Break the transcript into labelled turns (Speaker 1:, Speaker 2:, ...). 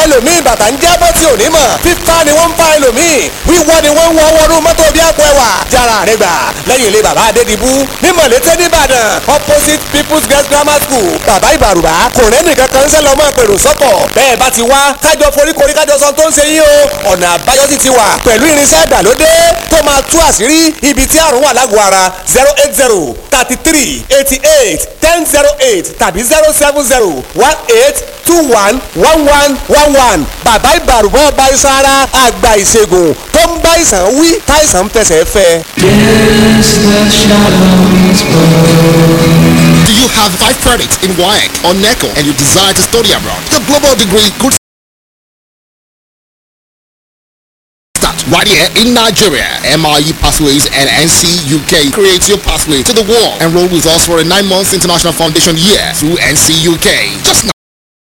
Speaker 1: Ẹlòmíì bàtà ń jábọ́ tí ò ní mọ̀. Fífa ni wọ́n ń fa ẹlòmíì, wíwọ́ ni wọ́n ń wọ́ wọnú mọ́tò bí àpò ẹwà. Jára rẹ gbà lẹ́yìn ilé bàbá Adédìbú ní Mọ̀lété nìbàdàn, opposite People's Girls Grammar School. Bàbá Ìbàrùbá kò rẹ́ nìkan kan ń sẹ́ lọ́mọ pèrò sọ́kọ̀. Bẹ́ẹ̀ bá ti wá, kájọ foríkorí, kájọ sọ tó ń ṣe yín o. Ọ̀nà àbáyọ sì ti wà pẹ̀lú irinṣẹ́ ìgbàlódé tó máa tú àṣírí ibi tí àrùn wà lágọ̀ọ́ ara. 08033881008 tàbí 07018211111. Bàbá Ìbàrùbá, ọba iṣan ara, àgbà ìṣègùn tó ń bá ìsàn wí táìsàn ń fẹsẹ̀ fẹ́.
Speaker 2: Yes, the shadow is
Speaker 3: Do you have 5 credits in WAEC or NECO and you desire to study abroad? The global degree could start right here in Nigeria. MIE Pathways and NC UK creates your pathway to the world. Enroll with us for a 9 months international foundation year through NC UK. Just